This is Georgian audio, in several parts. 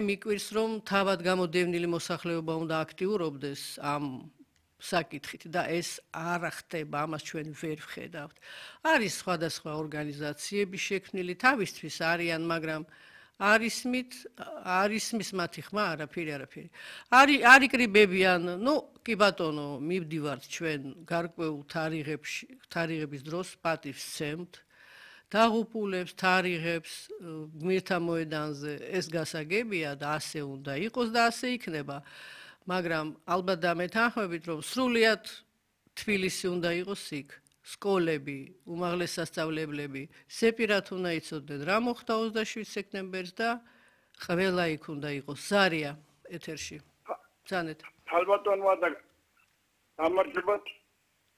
მიკვირს რომ თავად გამოდევნილი მოსახლეობა უნდა აქტიურობდეს ამ საკითხით და ეს არ ხდება, ამას ჩვენ ვერ ვხედავთ. არის სხვადასხვა ორგანიზაციები შექმნილი თავისთვის არიან, მაგრამ არის მის მათი ხმა არაფერი. არ იკრიბებიან, კი ბატონო, მივდივართ ჩვენ გარკვეულ თარიღების დროს პატივს ვცემთ. დაღუპულებს, თარიღებს, გმირთა მოედანზე ეს გასაგებია და ასე უნდა იყოს და ასე იქნება. მაგრამ ალბათ დამეთანხმებით, რომ სრულიად თბილისი უნდა იყოს იქ. სკოლები, უმაღლეს სასწავლებლები, სეპირად უნდა იცოდნენ რა მოხდა 27 სექტემბერს და ყველა იქ უნდა იყოს. ზარია ეთერში. ბრძანეთ. ალბათონმა და გამარჯობათ.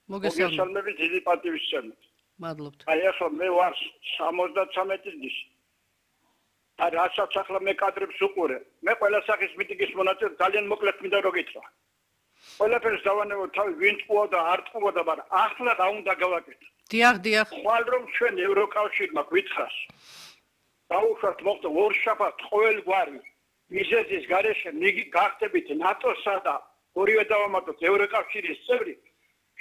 მოგესალმებით, დიდი პატივის ვცემთ. მადლობთ. აი ახლა მე ვარ 73 წლის. და რასაც ახლა მე კადრებს უყურე. მე ყველა სახის მიტინგის მონაწილე ძალიან მოკლედ მინდა რომ გითხრა. ყველაფერს დავანებო თავი ვინ ტყუა და არ ტყუა და მაგრამ ახლა რა უნდა გავაკეთო? დიახ. ხვალ რომ ჩვენ ევროკავშირმა გვითხრას. დაუშვათ მოხდა ორშაბათ ყოველგვარი მიზეზის გარეშე გახდებით ნატოსა და ორივე დავამატოთ ევროკავშირის წევრი.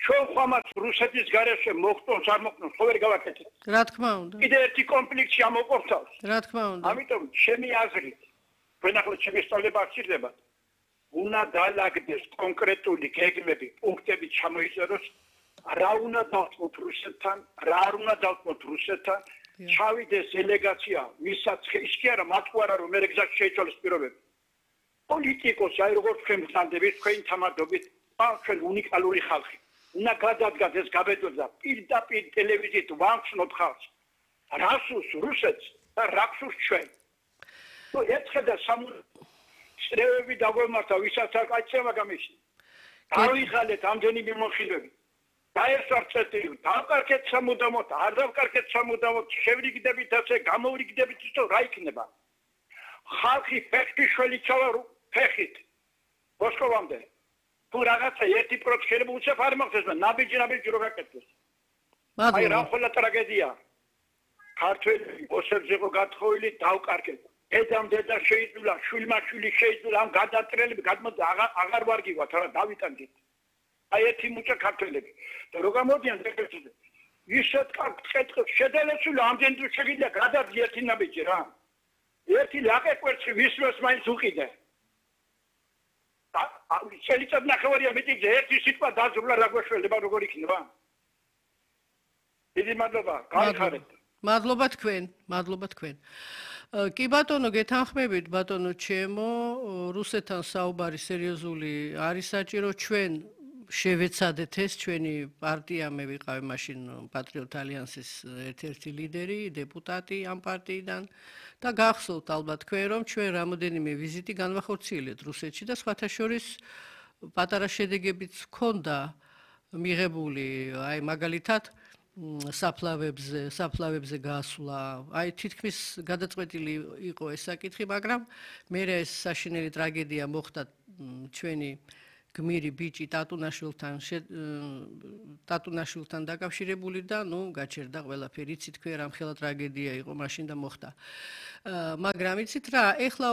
ჩვენ ხომაც რუსეთის გარეშე მოხდოს არ მოხდოს ხო ვერ გავაკეთეთ. რა თქმა უნდა. კიდე ერთი კონფლიქტი ამოყოფთავს. რა თქმა უნდა. ამიტომ ჩემი აზრით, თქვენ ახლა ჩემი სწავლება აღჭირდებათ. უნდა დაალაგდეს კონკრეტული გეგმები, პუნქტები ჩამოიწეროს, რა უნდა დავთმოთ რუსეთთან, რა არ უნდა დავთმოთ რუსეთთან, ჩავიდეს დელეგაცია, ვისაც ის კი არა, მათ არა რომ მე გზაში შეიცვალოს პირობები. პოლიტიკოსი, აი როგორც თქვენ გძანდებით, თქვენი თამადობით, ჩვენ უნიკალური ხალხი. უნდა გადადგას ეს გაბედვება პირდაპირ ტელევიზიით ვამჩნოთ ხალხს. რასუს რუსეთს და რასუს ჩვენ. ეცხედა წრეები დაგვემართა, ვისაც არ გაიცემა გამიშნი. დავიღალეთ ამდენი მიმოხილვები. დაესვართ წეტილი, დავკარგეთ სამუდამოდ, არ დავკარგეთ სამუდამოდ, შევრიგდებით ასე, გამოვრიგდებით ისო რა იქნება. ხალხი ფეხი შველიცავა ფეხით. მოსკოვამდე. თუ რაღაცა 1% უცებ არ მოხდეს და ნაბიჯი რო გაკეთდეს. აი რა ხოლმე ტრაგედია. ქართველი ოსებზე იყო გათხოვილი, დავკარგეთ. დედა შეიძულა, შვილმა შეიძულა, ამ გადატრელები აღარ ვარგივათ, რა დავიტანდით. აი ერთი მუჭა ქართველები. და რო გამოდიან დეპუტატები. ისეთ კეთებს შედელესული ამდენ თუ შეგიძლია გადაძი ერთი ნაბიჯი რა. ერთი ლაყე კვერცხი ვისროს მაინც უყიდე. შეიძლება ნახევარია მიტინგზე ერთი სიტყვა დაძრულა რა გვეშველება როგორ იქნება. დიდი მადლობა, გაიხარეთ. მადლობა თქვენ. კი ბატონო, გეთანხმებით ბატონო ჩემო, რუსეთთან საუბარი სერიოზული არის საჭირო, ჩვენ შევეცადეთ ეს, ჩვენი პარტია, მე ვიყავი მაშინ პატრიოტ ალიანსის ერთ-ერთი ლიდერი, დეპუტატი ამ პარტიიდან და გახსოვთ ალბათ თქვენ, რომ ჩვენ რამოდენიმე ვიზიტი განვახორციელეთ რუსეთში და სხვათა შორის პატარა შედეგებიც ჰქონდა მიღებული, აი მაგალითად საფლავებზე გასვლა, აი თითქმის გადაწყვეტილი იყო ეს საკითხი, მაგრამ მე ეს საშინელი ტრაგედია მოხდა ჩვენი გმირი ბიჭი ტატუნაშვილთან დაკავშირებული და გაჩერდა ყველაფერი, იცით თქვენ რამხელა ტრაგედია იყო მაშინ და მოხდა. მაგრამ იცით რა, ეხლა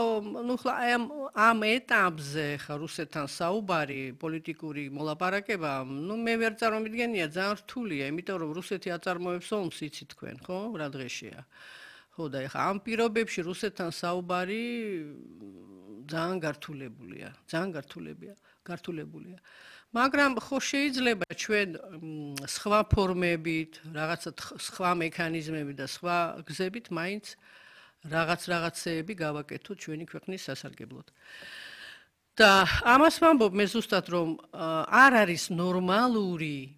ამ ეტაპზე ხა რუსეთთან საუბარი, პოლიტიკური მოლაპარაკება, მე ვერ წარმოვიდგენია, ძალიან რთულია, იმიტომ რომ რუსეთი აწარმოებს ომს, იცით თქვენ, ხო, რა დღეშია. ხო და ეხლა ამ პირობებში რუსეთთან საუბარი ძალიან გართულებულია. მაგრამ ხო შეიძლება ჩვენ სხვა ფორმებით, რაღაცა სხვა მექანიზმებით და სხვა გზებით მაინც რაღაცეები გავაკეთოთ ჩვენი ქვეყნის სასარგებლოდ. და ამას ვამბობ მე ზუსტად რომ არ არის ნორმალური,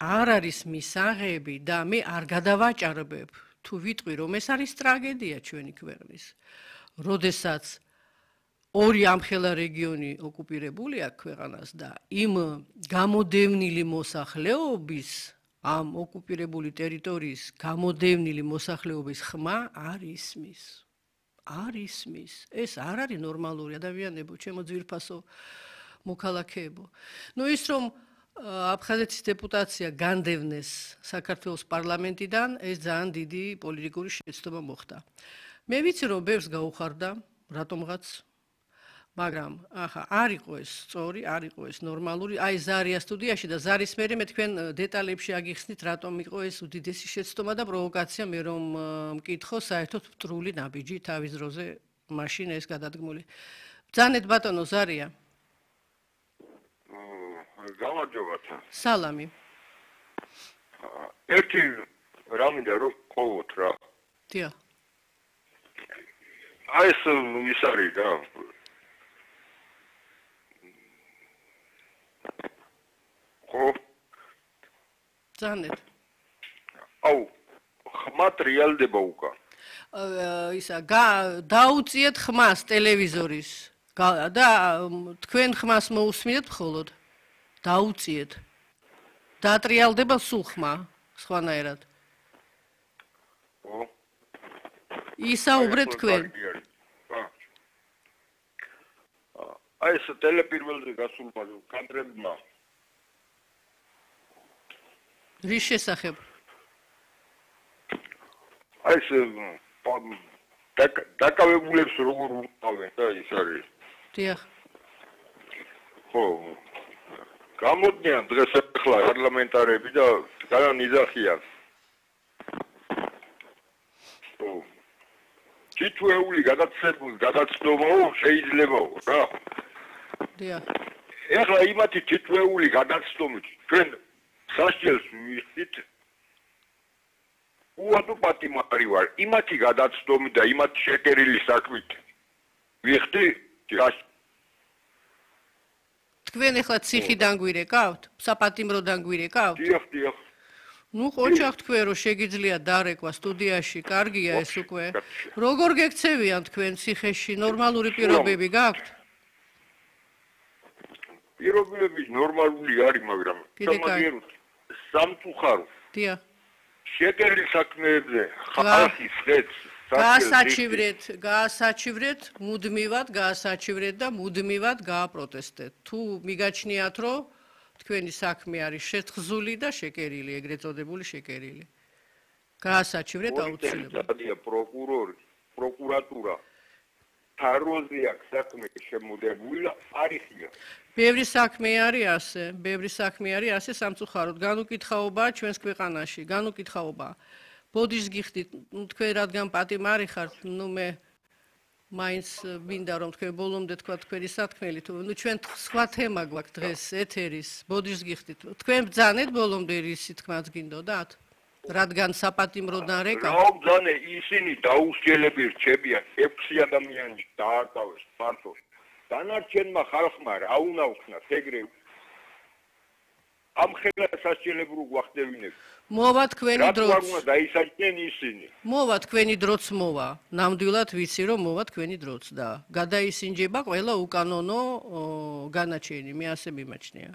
არ არის მისაღები და მე არ გადავაჭარბებ თუ ვიტყვი რომ ეს არის ტრაგედია ჩვენი ქვეყნის. როდესაც ორი ამხელა რეგიონი ოკუპირებული აქვს ქვეყანას და იმ გამოდევნილი მოსახლეობის ამ ოკუპირებული ტერიტორიის გამოდევნილი მოსახლეობის ხმა არ ისმის. ეს არ არის ნორმალური ადამიანებო, ჩემო ძვირფასო მოქალაქეებო. ის რომ აფხაზეთის დეპუტაცია განდევნეს საქართველოს პარლამენტიდან, ეს ძალიან დიდი პოლიტიკური შეცდომა მოხდა. მე ვიცი რომ ბევრს გაუხარდა რატომღაც მაგრამ ახლა არ იყო ეს სწორი, არ იყო ეს ნორმალური. აი ზარია სტუდიაში და ზარის მერე მე თქვენ დეტალებში აგიხსნით, რატომ იყო ეს უდიდესი შეცდომა და პროვოკაცია, მე რომ მკითხო საერთოდ მტრული ნაბიჯი თავის დროზე მაშინ ეს გადადგმული. ბრძანეთ ბატონო ზარია. გამარჯობათ. სალამი. ერთი რამინდა რომ ყოვოთ რა. დიახ. აი ეს ის არის რა. ხო. ბრძანეთ. აუ, ხმათ რეალდება უკან. ისა დაუწიეთ ხმას ტელევიზორის და თქვენ ხმას მოусმინეთ მხოლოდ. დაუწიეთ. დაატრიალდება სულ ხმა, სხვანაირად. ხო. ისაუბრეთ თქვენ. აი ეს ტელეპირველზე გასულმა კადრებმა. რის შესახებ? აი ეს დაკავებულებს როგორ უყავენ და ის არის. დიახ. ხო. გამოდიან დღეს ახლა პარლამენტარები და განიზახიან. ხო. თითოეული გადაცდომაო შეიძლებაო რა. დიახ. ახლა იმათი თითოეული გადაცდომით ჩვენ სასჯელს ვიხდით. უადო პატიმარი ვარ. იმათი გადაცდომი და იმათი შეკერილი საქმით ვიხდი თქვენ ახლა ციხიდან გვირეკავთ? საპატიმროდან გვირეკავთ? დიახ. ნუ ყოჩახ თქვენ რომ შეგიძლია დარეკვა სტუდიაში, კარგია ეს უკვე. როგორ გექცევიან თქვენ ციხეში? ნორმალური პირობები გაქვთ? პირობები ნორმალური არის, მაგრამ სამაგიეროდ სამწუხარო. დიახ. შეკერილი საქმეებზე ხალხის ხეთს გაასაჩივრეთ, მუდმივად და მუდმივად გააპროტესტეთ. თუ მიგაჩნიათ, რომ თქვენი საქმე არის შეთხზული და შეკერილი, ეგრეთ წოდებული შეკერილი. გაასაჩივრეთ აუცილებლად. პროკურორი, პროკურატურა თაროზე აქვს საქმე შემოდებული და არიხია. ბევრი საქმე არის ასე სამწუხაროდ. განუკითხაობაა ჩვენს ქვეყანაში, განუკითხაობაა. ბოდიშს გიხდით, თქვენ რადგან პატიმარი ხართ, მე მაინც მინდა რომ თქვენ ბოლომდე თქვა თქვენი სათქმელი, თუ ჩვენ სხვა თემა გვაქვს დღეს ეთერის, ბოდიშს გიხდით. თქვენ ბრძანეთ ბოლომდე რისი თქმაც გინდოდათ? რადგან საპატიმროდან რეკა. რა ბრძანე, ისინი დაუსჯელები რჩებიან, 6 ადამიანი დაარტყავეს მარტო. დანარჩენმა ხალხმა რა უნდა უხსნათ ეგრევე. ამ ხელა სასჯელებრო გვახდებინებ. მოვა თქვენი დროც. რა უნდა დაისაჯნენ ისინი. მოვა თქვენი დროც მოვა. ნამდვილად ვიცი რომ მოვა თქვენი დროც და გადაისინჯება ყველა უკანონო განაჩენი, მე ასე მიმაჩნია.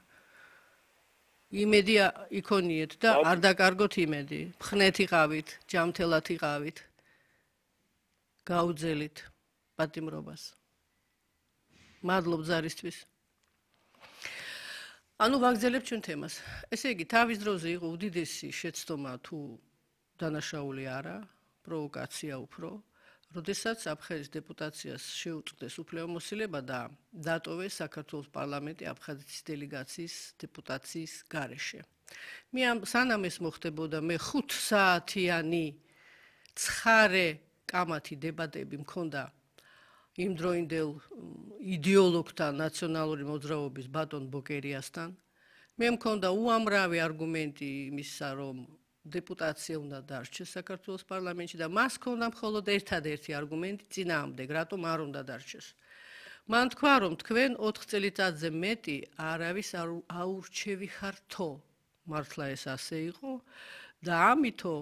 იმედი იქონიეთ და არ დაკარგოთ იმედი. მხნეთ იყავით, ჯამთელად იყავით. გაუძელით პატიმრობას. მადლობ ზარისთვის. ანუ ვაგზელებთ ჩვენ თემას. ესე იგი, თავის დროზე იყო უდიდესი შეცდომა თუ დანაშაული არა, პროვოკაცია უფრო, როდესაც აფხაზეთის დეპუტაციას შეუწყდეს უფლებამოსილება და დატოვეს საქართველოს პარლამენტი აფხაზეთის დელეგაციის დეპუტაციის გარეშე. მე სანამ ეს მოხდებოდა, მე 5 საათიანი ცხარე კამათი დებატები მქონდა იმ დროინდელ იდეოლოგთან ნაციონალური მოძრაობის ბატონ ბოკერიასთან. მე მქონდა უამრავი არგუმენტი იმისა, რომ დეპუტაცია უნდა დარჩეს საქართველოს პარლამენტში და მას ჰქონდა მხოლოდ ერთადერთი არგუმენტი წინააღმდეგ, რატომ არ უნდა დარჩეს. მან თქვა, რომ თქვენ 4 წელიწადზე მეტი არავის აურჩევი ხართო. მართლა ეს ასე იყო და ამითო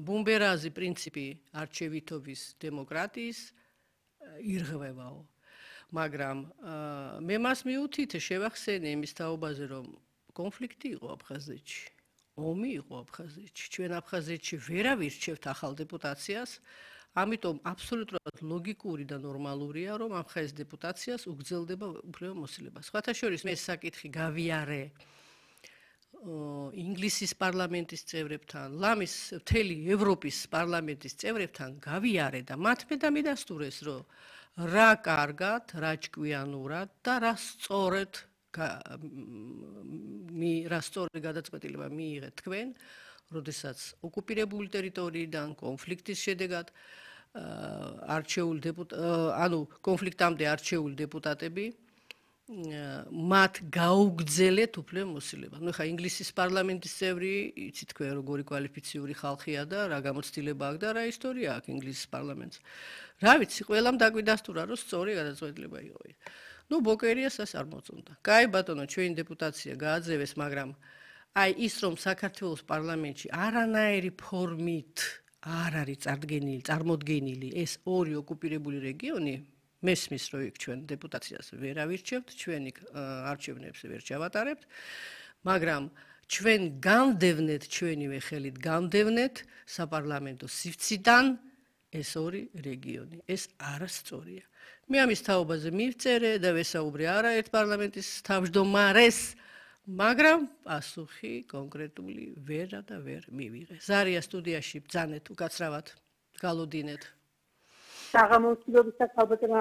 ბუმბერაზი პრინციპი არჩევითობის დემოკრატიის ირღვევაო. მაგრამ მე მას მიუთითე შევახსენე იმის თაობაზე, რომ კონფლიქტი იყო აფხაზეთში. ომი იყო აფხაზეთში. ჩვენ აფხაზეთში ვერავინ რჩევთ ახალ დეპუტაციას, ამიტომ აბსოლუტურად ლოგიკური და ნორმალურია, რომ აფხაზეთის დეპუტაციას უგრძელდება უფლებამოსილება. სხვათა შორის მე საკითხი გავიარე ინგლისის პარლამენტის წევრებთან, ლამის მთელი ევროპის პარლამენტის წევრებთან გავიარე და მათ მე დამიდასტურეს, რომ რა კარგად, რა ჭკვიანურად და რა სწორედ გადაწყვეტილება მიიღეთ თქვენ, როდესაც ოკუპირებული ტერიტორიიდან კონფლიქტის შედეგად კონფლიქტამდე არჩეული დეპუტატები მათ გაუგზელეთ უფლე მოსილება. ხა ინგლისის პარლამენტის წევრი, იცით თქვენ როგორი კვალიფიციური ხალხია და რა გამოცდილება აქვს და რა ისტორია აქვს ინგლისის პარლამენტს. რა ვიცი, ყველამ დაგვიდასტურა, რომ სწორი გადაწყვეტილება იყო ის. ბოკერიას ეს არ მოწონდა. კაი ბატონო, ჩვენი დეპუტაცია გააძევეს, მაგრამ აი ის რომ საქართველოს პარლამენტში არანაირი ფორმით არ არის წარმოდგენილი ეს ორი ოკუპირებული რეგიონი, მესმის რომ იქ ჩვენ დეპუტაციას ვერ ავირჩევთ, ჩვენი არჩევნებს ვერ ჩავატარებთ, მაგრამ ჩვენ გამდევნეთ, ჩვენივე ხელით გამდევნეთ საპარლამენტო სივრციდან ეს ორი რეგიონი. ეს არასწორია. მე ამის თაობაზე მივწერე და ვესაუბრე არაერთ პარლამენტის თავმჯდომარეს, მაგრამ პასუხი კონკრეტული ვერა და ვერ მივიღე. ზარია სტუდიაში ბძანეთ, უკაცრავად გალოდინეთ. საღამოწმებისა ქალბატონო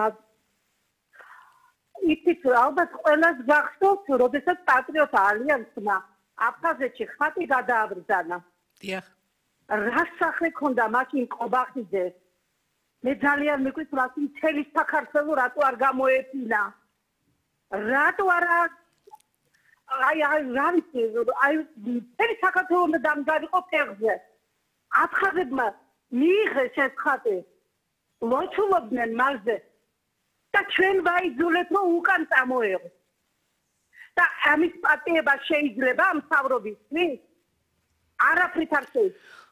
იცით ალბათ ყველას გახსოვთ, როდესაც პატრიოტ ალიანსმა აფხაზეთში ხატი გადააბრძანა. დიახ. რა სახე ქონდა მაშინ ყობახიძე? მე ძალიან მიყვით რა მთელი საქართველო რატო არ გამოეფინა? რატო არა რა ვიცი, მთელი საქართველო უნდა დამგარიყო ფეხზე. აფხაზებმა მიიღეს ეს ხატი. ლოცულობდნენ მასზე და ჩვენ ვაიძულეთ რომ უკან წამოეღო და ამის პატიება შეიძლება ამ მთავრობისთვის არაფრით არ შეიძლება.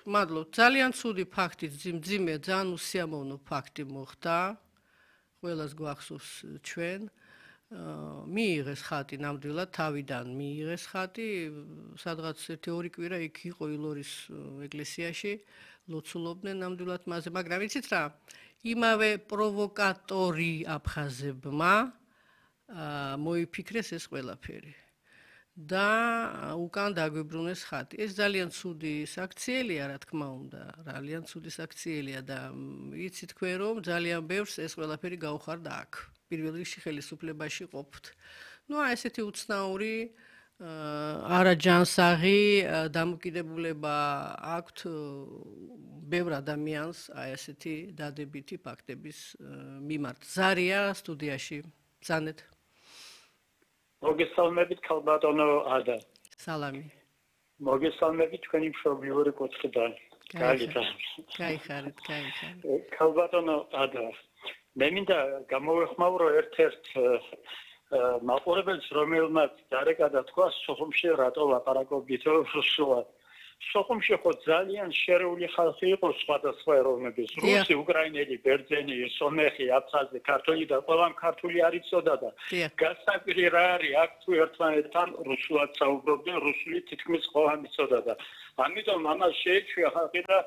მადლობ. ძალიან ცუდი ფაქტი, მძიმე, ძალიან უსიამოვნო ფაქტი მოხდა. ყველას გვახსოვს ჩვენ. მიიღეს ხატი ნამდვილად თავიდან მიიღეს ხატი, სადღაც 1-2 კვირა იქ იყო ილორის ეკლესიაში. ლოცულობდნენ ნამდვილად მასზე, მაგრამ იცით რა? იმავე პროვოკატორი აფხაზებმა მოიფიქრეს ეს ყველაფერი და უკან დაგვიბრუნეს ხატი. ეს ძალიან ცუდი საქციელია, რა თქმა უნდა, ძალიან ცუდი საქციელია და იცით თქვენ რომ ძალიან ბევრს ეს ყველაფერი გაუხარდა აქ. პირველ რიგში ხელისუფლებაში ყოფთ. ესეთი უცნაური არაჯანსაღი დამოკიდებულება აქვთ ბევრ ადამიანს ესეთი დადებითი ფაქტების მიმართ. ზარია სტუდიაში ბძანეთ. მოგესალმებით ქალბატონო ადა. სალამი. მოგესალმებით თქვენი მშობლიური კუთხიდან. გაიხარეთ. ქალბატონო ადა. მე მინდა გამოვეხმაურო ერთ-ერთ მაყურებელს, რომელმაც დარეკადა თქვა სოხუმში რატო ლაპარაკობდით რუსულად. სოხუმში ხო ძალიან შერეული ხალხი იყო სხვადასხვა ეროვნების, რუსი, უკრაინელი, ბერძენი, სომეხი, აფხაზი, ქართული და ყველამ ქართული არ იცოდა და გასაკვირი რა არის, აქ თუ ერთმანეთთან რუსულად საუბრობდნენ, რუსული თითქმის ყველამ იცოდა და ამიტომ ამას შეეჩვია ხალხი და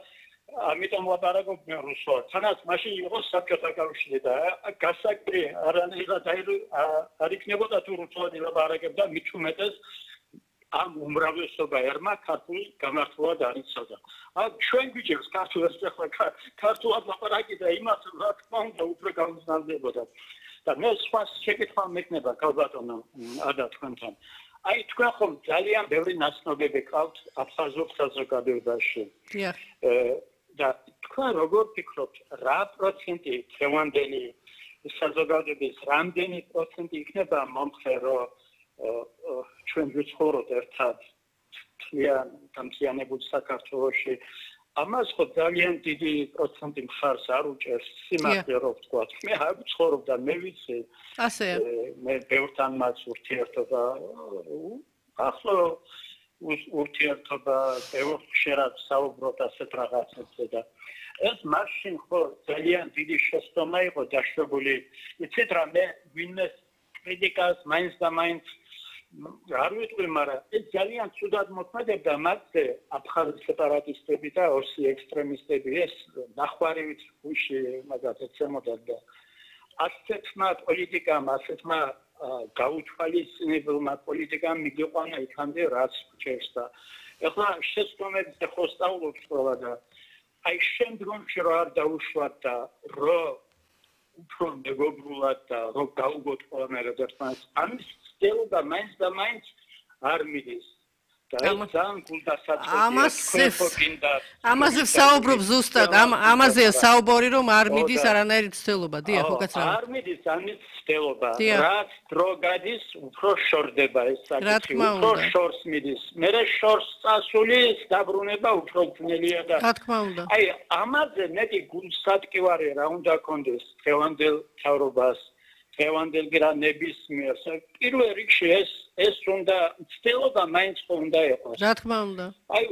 ამიტომ ლაპარაკობდნენ რუსულად. თანაც მაშინ იყო საბჭოთა კავშირი და გასაკვირი არანაირად არ იქნებოდა თუ რუსულად ილაპარაკებდა, მით უმეტეს ამ უმრავლესობა ერმა ქართული გამართულად არ იცოდა. ჩვენ გვიჭირს ქართულად ქართულად ლაპარაკი და იმას რა თქმა უნდა უფრო გამოსნავდებოდა. და მე სხვა შეკითხვა მექნება ქალბატონო ადა თქვენთან. თქვენ ხომ ძალიან ბევრი ნაცნობები ყავთ აფხაზურ საზოგადოებაში. და თქვენ როგორ ფიქრობთ, რა პროცენტი დღევანდელი საზოგადოების რამდენი პროცენტი იქნება მომხრე, რომ ჩვენ ვიცხოვრობთ ერთად მთლიანებულ საქართველოში? ამას ხო ძალიან დიდი პროცენტი მხარს არ უჭერს, სიმართლე რო ვთქვათ. მე არ ვიცხოვრობ და მე ვიცი. მე ბევრთან მას ურთიერთობა ახლა ურთიერთობა ბევრ ხშირად საუბრობთ ასეთ რაღაცებზე და ეს მაშინ ხო ძალიან დიდი შეცდომა იყო დაშვებული. იცით რა, მე ვინმეს კრიტიკას მაინც და მაინც არ ვიტყვი, მაგრამ ეს ძალიან ცუდად მოქმედებდა მასზე აფხაზი სეპარატისტები და ოსი ექსტრემისტები, ეს ნახვარივით გუში მაგათ ეცემოდა და ასეთმა პოლიტიკამ, ასეთმა გაუთვალისწინებელმა პოლიტიკამ მიგიყვანა იქამდე რაც რჩევს და ეხლა შეცდომებს ხო სწავლობთ ყველა და აი შემდგომში რა არ დაუშვათ და რო უფრო მეგობრულად და რო გაუგოთ ყველანაირად ერთმანეთს ამის ცდილობა მაინც და მაინც არ მიდის ამაზე საუბრობ ზუსტად ამაზეა საუბარი რომ არ მიდის არანაირი ცდილობა დიახ უკაცრავ არ მიდის ამის ცდილობა რაც დრო გადის უფრო შორდება ეს საკითხი უფრო შორს მიდის მე შორს წასული დაბრუნება უფრო ძნელია და რა თქმა უნდა აი ამაზე მეტი გულსატკივარი რა უნდა კონდეს დღევანდელ თავრობას დღევანდელ გრანებისმიერ პირველ რიგში ეს უნდა ცდილობა მაინც უნდა იყოს რა თქმა უნდა აი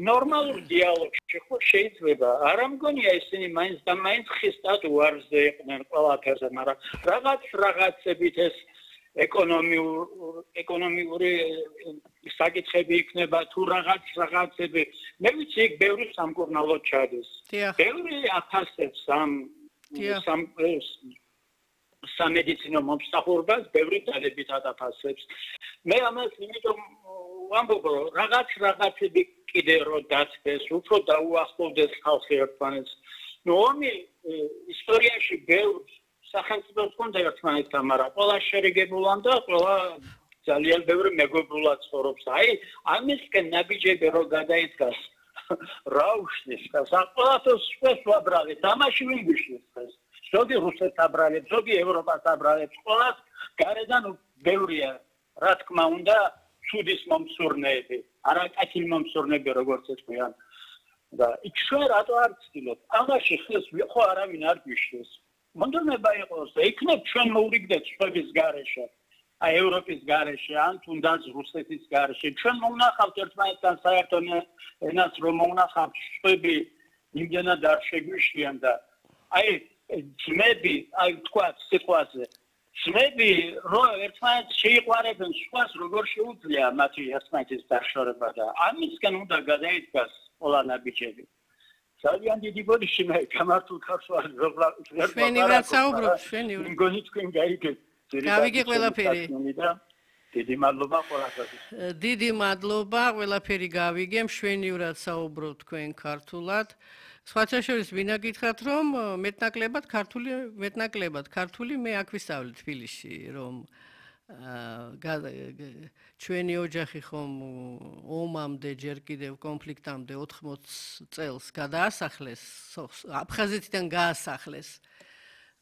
ნორმალურ დიალოგში ხო შეიძლება არ ამგონია ისინი მაინც და მაინც ხისტად უარზე იყვნენ ყველაფერზე მაგრამ რაღაცებით ეს ეკონომიური საკითხები იქნება თუ რაღაცები მე ვიცი იქ ბევრი სამკურნალო ჩადის ბევრი აფასებს სამედიცინო მომსახურებას ბევრი დალებით აფასებს მე ამას იმიტომ ვამბობ რომ რაღაცები კიდე რო დაცდეს უფრო დაუახლოვდეს ხალხი ერთმანეთს ნუ ომი ისტორიაში ბევრ სახელმწიფოს კონდა ერთმანეთთან მაგრამ ყველა შერიგებულან და ყველა ძალიან ბევრი მეგობრულად ცხოვრობს აი ამისკენ ნაბიჯები რო გადაიდგას რა უშლის და საყოველთაოს სპეს ვაბრალე თამაში ვინ გიშლის ეს ზოგი რუსეთს აბრალებს, ზოგი ევროპას აბრალებს, ყველას გარედან ბევრია, რა თქმა უნდა, ცუდის მომსურნეები, არაკათილ მომსურნეები როგორც ეწყვიან. და იქ ჩვენ რატო არ ვცდილობთ? ამაში ხეს ხო არავინ არ გვიშლის. მონდომება იყოს და იქნებ ჩვენ მოვრიგდეთ სხვების გარეშე. აი ევროპის გარეშე, ან თუნდაც რუსეთის გარეშე. ჩვენ მოვნახავთ ერთმანეთთან საერთო ენას რომ მოვნახავთ შვები იმდენად არ შეგვიშლიან და აი ძმები, აი თქვა სიტყვაზე, ძმები რო ერთმანეთს შეიყვარებენ, სხვას როგორ შეუძლია მათი ერთმანეთის დაშორება და ამისგან უნდა გადაიდგას ყველა ნაბიჯები. ძალიან დიდი ბოდიში მე გამართულ ხარს ვარ. ჩვენი რაც საუბრობთ, ჩვენი. მგონი თქვენ გაიგეთ. გავიგე ყველაფერი. დიდი მადლობა ყველასთვის. დიდი მადლობა, ყველაფერი გავიგე, მშვენივრად საუბრობთ თქვენ ქართულად. სხვათა შორის ვინა გითხრათ რომ მეტნაკლებად ქართული მე აქ ვისწავლე თბილისში რომ ჩვენი ოჯახი ხომ ომამდე ჯერ კიდევ კონფლიქტამდე 80 წელს გადაასახლეს აფხაზეთიდან გაასახლეს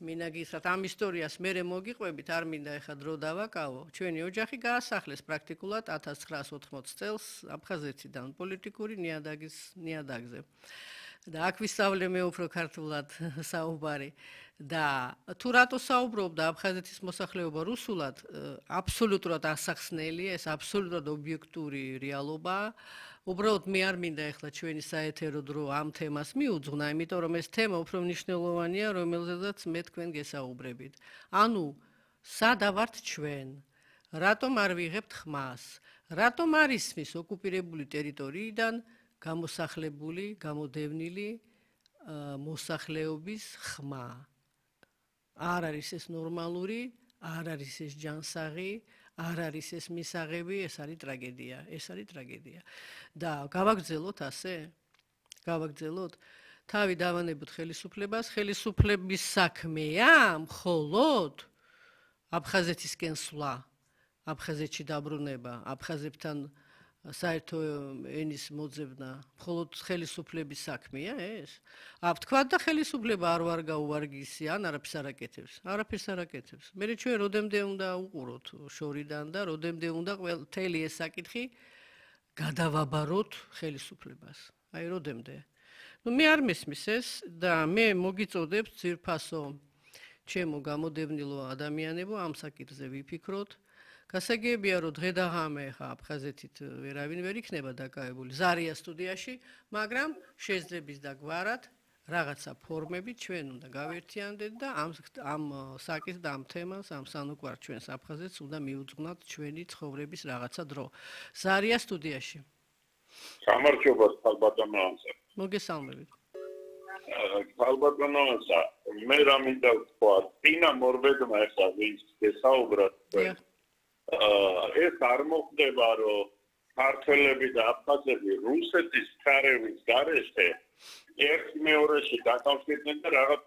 მინა გითხრათ ამ ისტორიას მე მოგიყვებით არ მინდა ეხა დრო დავაკავო ჩვენი ოჯახი გაასახლეს პრაქტიკულად 1980 წელს აფხაზეთიდან პოლიტიკური ნიადაგზე და აქ ვისწავლე მე უფრო ქართულად საუბარი და თუ რატო საუბრობდა აფხაზეთის მოსახლეობა რუსულად აბსოლუტურად ასახსნელი ეს აბსოლუტურად ობიექტური რეალობაა უბრალოდ მე არ მინდა ეხლა ჩვენი საეთერო დრო ამ თემას მიუძღვნა იმიტომ რომ ეს თემა უფრო მნიშვნელოვანია რომელზედაც მე თქვენ გესაუბრებით ანუ სადა ვართ ჩვენ რატომ არ ვიღებთ ხმას რატომ არ ისმის ოკუპირებული ტერიტორიიდან გამოსახლებული, გამოდევნილი მოსახლეობის ხმა. არ არის ეს ნორმალური, არ არის ეს ჯანსაღი, არ არის ეს მისაღები, ეს არის ტრაგედია, ეს არის ტრაგედია. და გავაგრძელოთ ასე? გავაგრძელოთ? თავი დავანებოთ ხელისუფლებას, ხელისუფლების საქმეა მხოლოდ აფხაზეთისკენ სვლა, აფხაზეთში დაბრუნება, აფხაზებთან საერთო ენის მოძებნა მხოლოდ ხელისუფლების საქმეა ეს? თქვა და ხელისუფლება არ ვარ გაუვარგისი ან არაფერს არ აკეთებს. მე ჩვენ როდემდე უნდა უყუროთ შორიდან და როდემდე უნდა მთელი ეს საკითხი გადავაბაროთ ხელისუფლებას. აი როდემდე. ნუ მე არ მესმის ეს და მე მოგიწოდებ ძირფასო ჩემო გამოდევნილო ადამიანებო ამ საკითხზე ვიფიქროთ. გასაგებია რომ დღე და ღამე ხა აფხაზეთით ვერავინ ვერ იქნება დაკავებული ზარია სტუდიაში, მაგრამ შეძლებს და გვარად რაღაცა ფორმებით ჩვენ უნდა გავერთიანდეთ და ამ საკითხს და ამ თემას, ამ სანუკვარ ჩვენს აფხაზეთს უნდა მიუძღვნათ ჩვენი ცხოვრების რაღაცა დრო. ზარია სტუდიაში. გამარჯობა ხალბატონო ანსა. მოგესალმებით. ხალბატონო ანსა, მე რა მინდა ვთქვა, წინა მორბედმა ეხლა ვის გესაუბროთ. ეს არ მოხდება რომ ქართველები და აფხაზები რუსეთის цаრევის გარეშე ერთ მეორეში დაკავშირდნენ და რაღაც